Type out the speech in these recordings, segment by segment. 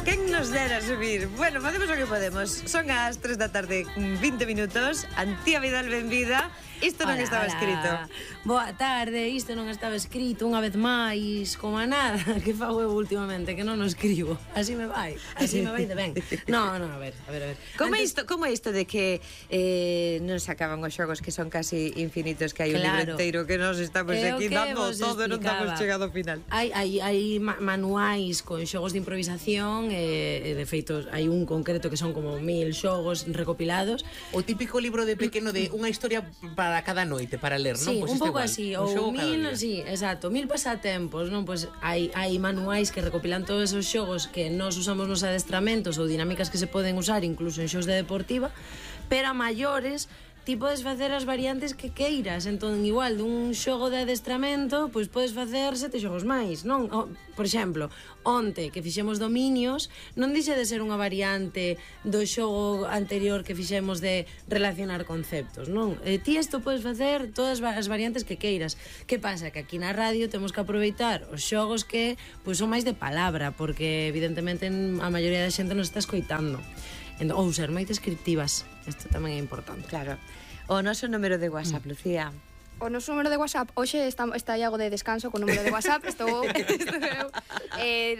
Quen nos dera subir? Bueno, facemos o que podemos. Son as 3 da tarde, 20 minutos. Antía Vidal, benvida. Isto non estaba escrito. Boa tarde, isto non estaba escrito unha vez máis, como a nada que fago eu últimamente, que non o escribo. Así me vai de ben. No, a ver. Como é isto de que non se acaban os xogos que son casi infinitos, que hai un libro inteiro que nos estamos aquí dando todo e non estamos chegado ao final? Hai manuais con xogos de improvisación e de feito hai un concreto que son como 1000 xogos recopilados. O típico libro de pequeno de unha historia para cada noite para ler, non? Sí, Pois un pouco así, ou 1000, sí, exacto, 1000 pasatempos, non? Pois hai manuais que recopilan todos esos xogos que nós usamos nos adestramentos ou dinámicas que se poden usar incluso en xogos de deportiva, pero a maiores ti podes facer as variantes que queiras. Entón, igual, dun xogo de adestramento, pois podes facer 7 xogos máis, non? Por exemplo, onte que fixemos dominios, non dixe de ser unha variante do xogo anterior que fixemos de relacionar conceptos, non? Ti isto podes facer todas as variantes que queiras. Que pasa? Que aquí na radio temos que aproveitar os xogos que pois son máis de palabra, porque evidentemente a maioría da xente nos está escoitando. Ou ser moi descriptivas. Isto tamén é importante. Claro. O noso número de WhatsApp, Lucía. O noso número de WhatsApp, hoxe está Iago de descanso con número de WhatsApp, estou eu.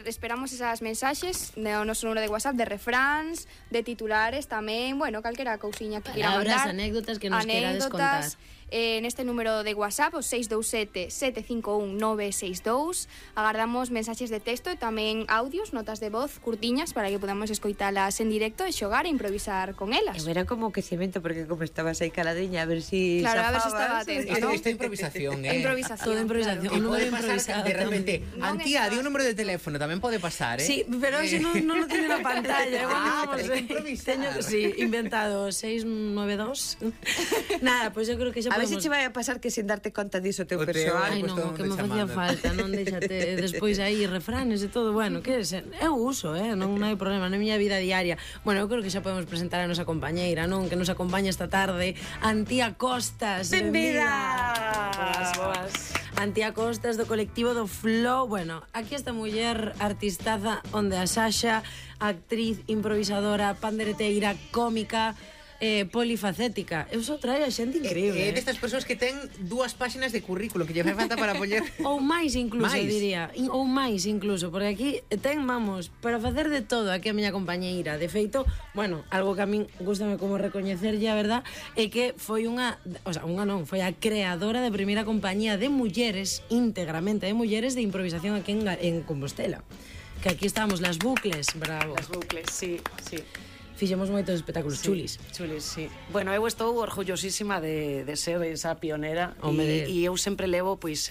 Esperamos esas mensaxes no noso número de WhatsApp de refráns, de titulares tamén, bueno, calquera cousiña que queira mandar. Palabras, anécdotas que nos querades contar. Neste número de WhatsApp, o 627-751-962, agardamos mensaxes de texto e tamén audios, notas de voz curtiñas para que podamos escoitalas en directo e xogar e improvisar con elas. Eu era como que cemento, porque como estabas aí caladiña, a ver si claro, zafabas. A ver si estaba atenta, ¿no? Esta improvisación, Improvisación. Todo improvisación. Claro. O número pode pasar improvisado de repente, Antía, di un número de teléfono, tamén pode pasar, Sí, pero hoxe non lo teño na pantalla. Pero hai que improvisar. Teño, sí, inventado 692. Nada, pois eu creo que xa a ver podemos... se che vai a pasar que sin darte conta diso teu O teu, persoal. Ai, non, o que me facía falta, non deixate despois aí refranes e todo, bueno, que eu uso, non hai problema na miña vida diaria. Bueno, eu creo que xa podemos presentar a nosa compañeira, non? Que nos acompaña esta tarde, Antía Costas. Benvida! Boas. Antía Costas do colectivo do Flow. Bueno, aquí esta muller artistaza onde a Sasha, actriz, improvisadora, pandereteira, cómica, polifacética. Eu só traio a xente increíble. Destas persoas que ten 2 páxinas de currículo que lle fai falta para poñer... Ou máis incluso, máis. diría. Ou máis incluso, porque aquí ten, vamos, para facer de todo aquí a miña compañeira. De feito, bueno, algo que a min gustame como recoñecerlle, a verdad, é que foi foi a creadora da primeira compañía de mulleres, íntegramente de mulleres, de improvisación aquí en Compostela. Que aquí estamos, Las Bucles, bravo. Las Bucles, sí. Fixemos moitos espectáculos chulis. Chulis, sí. Bueno, eu estou orgullosísima de ser esa pionera e eu sempre levo pois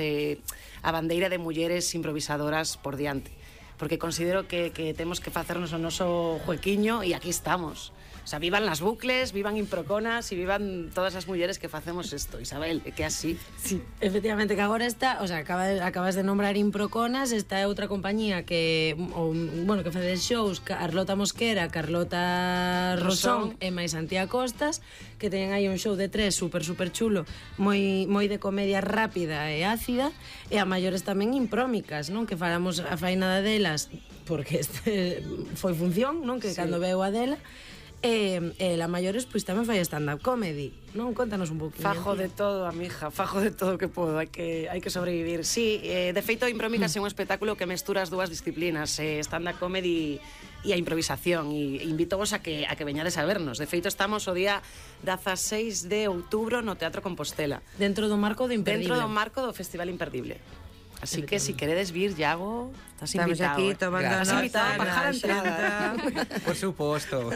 a bandeira de mulleres improvisadoras por diante, porque considero que temos que facernos o noso juequiño e aquí estamos. O sea, vivan Las Bucles, vivan Improconas e vivan todas as mulleres que facemos isto, Isabel, é que así. Sí, efectivamente, que agora está, o sea, acabas de nombrar Improconas, está outra compañía que, que fai shows, Carlota Mosquera, Carlota Rosón e máis Antía Costas, que teñen aí un show de 3 super chulo, moi de comedia rápida e ácida, e a maiores tamén imprómicas, non? Que falamos a fainada delas, porque este foi función, non? Que sí. Cando veu a dela, e la maiores pois tamén fai stand-up comedy, non? Contanos un pouquinho. Fajo de todo, amija, fajo de todo que podo, hai que sobrevivir. Sí, de feito Imprómicas é un espectáculo que mestura as dúas disciplinas, stand-up comedy e a improvisación, e invítovos a que veñades a vernos. De feito estamos o día 16 de outubro no Teatro Compostela. Dentro do marco do Imperdible. Dentro do marco do Festival Imperdible. Así que si queredes vir, Iago, estás Estamos invitado. Estamos aquí tomando nota. Estás invitado a bajar a entrada. Por suposto.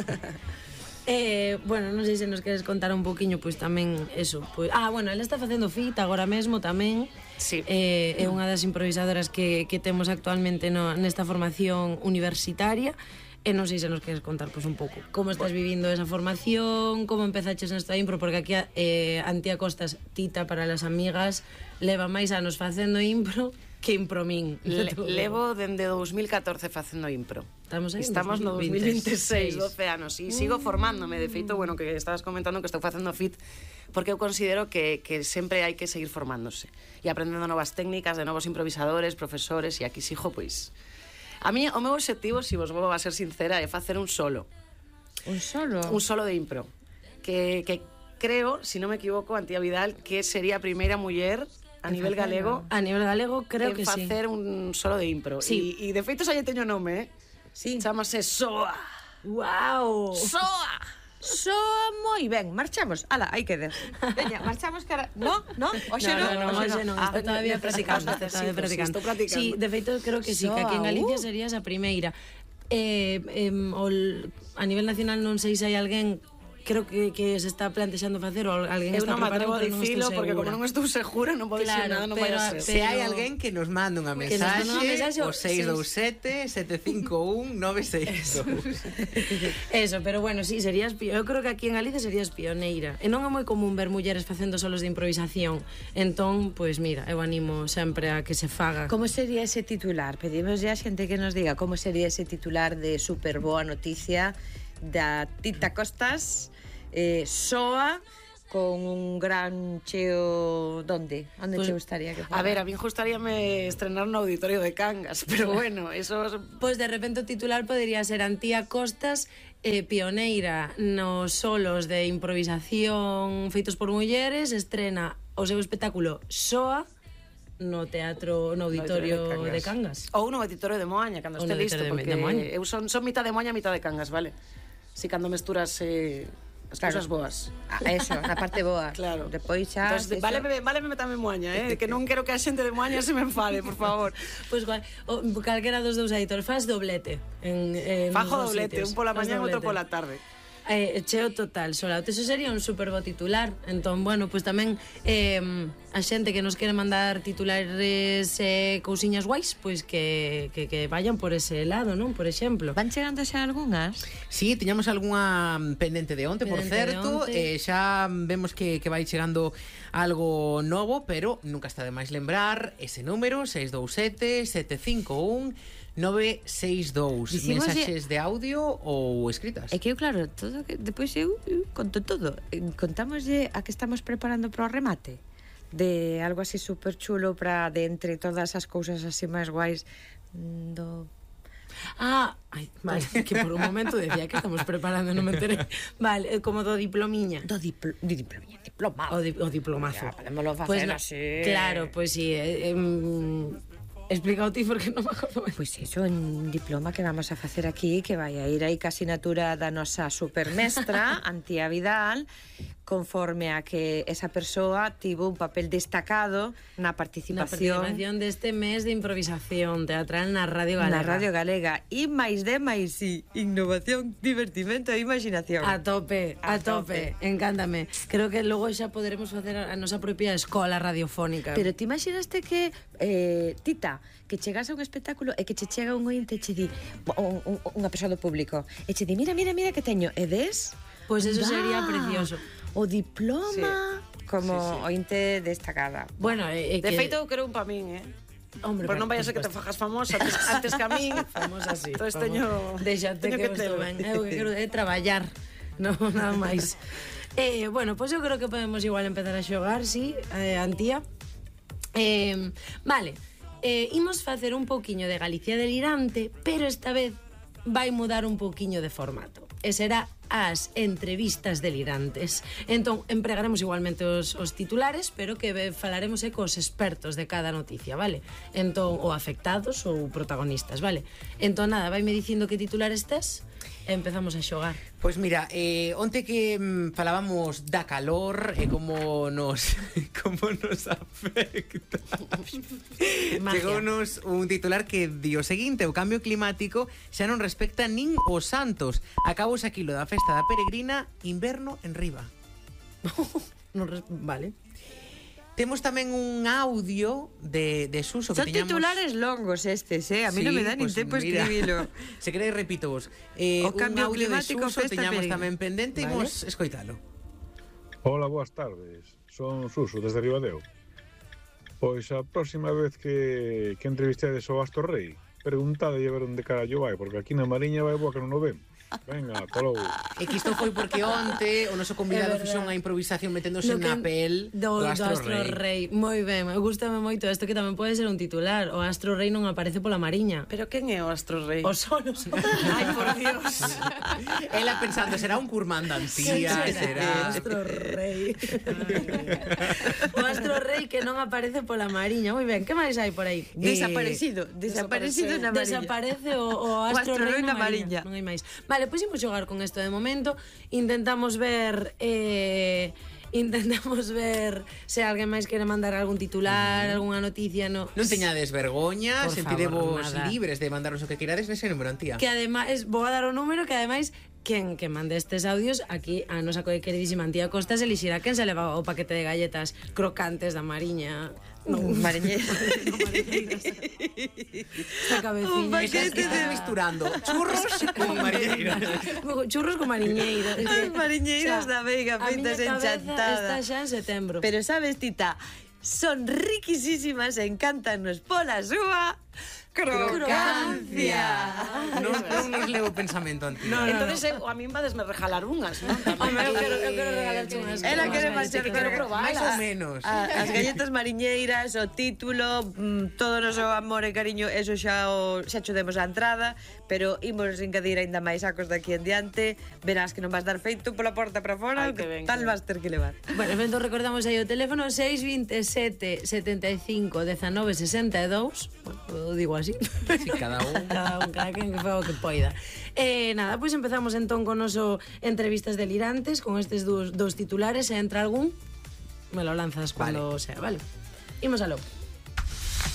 Bueno, non sei se nos queres contar un poquinho, pois tamén eso, pois, bueno, ela está facendo fit agora mesmo tamén. Sí. É unha das improvisadoras que temos actualmente nesta formación universitaria. E non sei se nos queres contar pois un pouco como estás vivindo esa formación, como empezaches nesta impro, porque aquí Antía Costas, Tita para las amigas, leva máis anos facendo impro que impromín. Levo dende 2014 facendo impro. Estamos no 2026, 12 anos, e sigo formándome. De feito, bueno, que estabas comentando que estou facendo fit, porque eu considero que sempre hai que seguir formándose e aprendendo novas técnicas de novos improvisadores, profesores, e aquí sigo, pois A mí, o meu objetivo, se vos vou a ser sincera, é facer un solo. Un solo? Un solo de impro. Que creo, si non me equivoco, Antía Vidal, que sería a primeira muller a nivel galego. A nivel galego creo que sí. En facer un solo de impro. Sí. E de feito xa lle teño nome, Sí. Chámase Soa. ¡Guau! Soa! Soa moi ben, marchamos. Ala, aí quede. Veña, marchamos cara... No? Oxe non? Oxe non, está todavía practicando, Estou practicando. Sí, de feito, creo que sí, que aquí en Galicia serías a primeira. A nivel nacional non sei se hai alguén, creo que se está plantexando facer ou alguén Eu está non me preparando, atrevo a pero non estou dicilo, porque como segura. non estou segura, non podo dicir nada, non vai a ser. Se hai alguén que nos manda unha Que nos manda unha mensaxe, mensaxe, o 627-751-962. Eso, pero bueno, sí, serías eu creo que aquí en Galicia serías pioneira. E non é moi común ver mulleres facendo solos de improvisación. Entón, pois mira, eu animo sempre a que se faga. Como sería ese titular? Pedimos a xente que nos diga como sería ese titular de super boa noticia da Tita Costas, Soa, con un gran cheo... Onde pues, te gustaría que fuera? A ver, a mí gustaríame estrenar no Auditorio de Cangas, pero bueno, eso... Pois de repente o titular podría ser Antía Costas, pioneira nos solos de improvisación feitos por mulleres, estrena o seu espectáculo Soa no Auditorio de Cangas. Ou no Auditorio de Moaña, cando este listo, porque eu son mitad de Moaña, mitad de Cangas, vale? Si cando mesturas as cousas boas. Eso, na parte boa. Claro. Depois xa... Entonces, váleme tamén Moaña, que non quero que a xente de Moaña se me enfade, por favor. Pois calquera dos dous editores, faz doblete. Fajo doblete, un pola mañá e outro pola tarde. Cheo total, Sola. Eso sería un super bo titular. Entón, bueno, pois tamén a xente que nos quere mandar titulares cousiñas guais, pois que vayan por ese lado, non? Por exemplo. Van chegando xa algunhas? Sí, tiñamos algunha pendente de onte, por certo, xa vemos que vai chegando algo novo, pero nunca está de máis lembrar ese número 627-751-962. Mensaxes de audio ou escritas. É que eu, claro, todo que depois eu conto todo. Contámoslle a que estamos preparando para o remate de algo así super chulo para de entre todas as cousas así máis guais do... Vale, que por un momento decía que estamos preparando, non me enteré. Vale, como do diplomiña. Do diplomiña, diplomado. O diplomazo. Podémoslo facer así. Claro, pois sí, explica o ti porque non me acordo ben. Pois iso, un diploma que vamos a facer aquí, que vai a ir aí ca asinatura da nosa supermestra, Antía Vidal, conforme a que esa persoa tivo un papel destacado na participación deste mes de improvisación teatral na Radio Galega. Na Radio Galega. E máis de máis, sí, innovación, divertimento e imaginación. A tope. Encántame. Creo que logo xa poderemos facer a nosa propia escola radiofónica. Pero ti imaginaste que, Tita, que chegas a un espectáculo e que che chega un ointe e che di, unha persoa do público, e che di, mira que teño, e ves? Pois eso sería precioso. O diploma como ointe destacada. Bueno, de feito eu quero un pa min, Hombre, por non vai a ser que te fajas famosa antes que a min. Famosa así. Entonces teño que estou ben. Eu que quero traballar, non nada máis. Bueno, pois eu creo que podemos igual empezar a xogar, sí, Antía. Vale. Imos facer un pouquiño de Galicia delirante, pero esta vez vai mudar un pouquiño de formato. E será as entrevistas delirantes. Entón, empregaremos igualmente os titulares, pero que falaremos cos expertos de cada noticia, vale? Entón, ou afectados ou protagonistas, vale? Entón, nada, vaime dicindo que titular estés e empezamos a xogar. Pois mira, onte que falábamos da calor e como nos afecta. Chegounos un titular que di o seguinte: o cambio climático xa non respecta nin os santos. Acabou aquilo da festa da peregrina, inverno en riba. Vale. Temos tamén un audio de Suso que son titulares longos estes, a mí non me dá nin tempo escribilo. Se queréis repito vos. O cambio climático de Suso teñamos tamén pendente, vale. Imos escoitalo. Hola, boas tardes. Son Suso, desde Ribadeo. Pois a próxima vez que entrevistedes ao Astor Rei, preguntade e ver onde carallo vai, porque aquí na Mariña vai boa que non o vemos. Venga, ata logo. E que isto foi porque onte o noso convidado fixo unha improvisación meténdose na pel do Astro Rei. Moi ben, gustame moito isto que tamén pode ser un titular. O Astro Rei non aparece pola Mariña. Pero quen é o Astro Rei? O Sol. Ai, por Dios. Ela pensando, será un curmán da Antía, será... Astro Rei. O Astro Rei que non aparece pola Mariña. Moi ben, que máis hai por aí? Desaparecido na Mariña. Desaparece o Astro Rei na Mariña. Non hai máis. Vale, pois imos xogar con isto de momento. Intentamos ver se alguén máis quere mandar algún titular, algunha noticia. Non teñades vergoña, sentirevos libres de mandarnos o que queirades nese número, Antía. Que ademais, vou a dar o número que ademais quen que mande estes audios aquí a nosa queridísima Antía Costas elixirá quen se leva o paquete de galletas crocantes da Mariña. Mariñeiras. Esta cabeciña. Estás misturando churros con mariñeiras. Churros con mariñeiras. As mariñeiras da Veiga feitas enchantadas. Está xa en setembro. Pero sabes, Tita, son riquisísimas e encantanos pola súa crocancia. Non nos levo pensamento, Antía. Entonces, a min vadesme regalar unhas, non? Eu quero regalarte unhas. Ela quere facer, quero probar. Mais ou menos. As galletas mariñeiras, o título, todo o noso amor e cariño, eso xa cho demos a entrada, pero imos engadir aínda máis sacos daqui en diante, verás que non vas dar feito pola porta para fora, tal vas ter que levar. Bueno, entón recordamos aí o teléfono 627 75 19 62. Bueno, digo así. Sí, cada quen que fa o que poida. Nada, pois empezamos entón con noso entrevistas delirantes con estes dous titulares, e entra algún me lo lanzas cando sea, vale? Imos aló.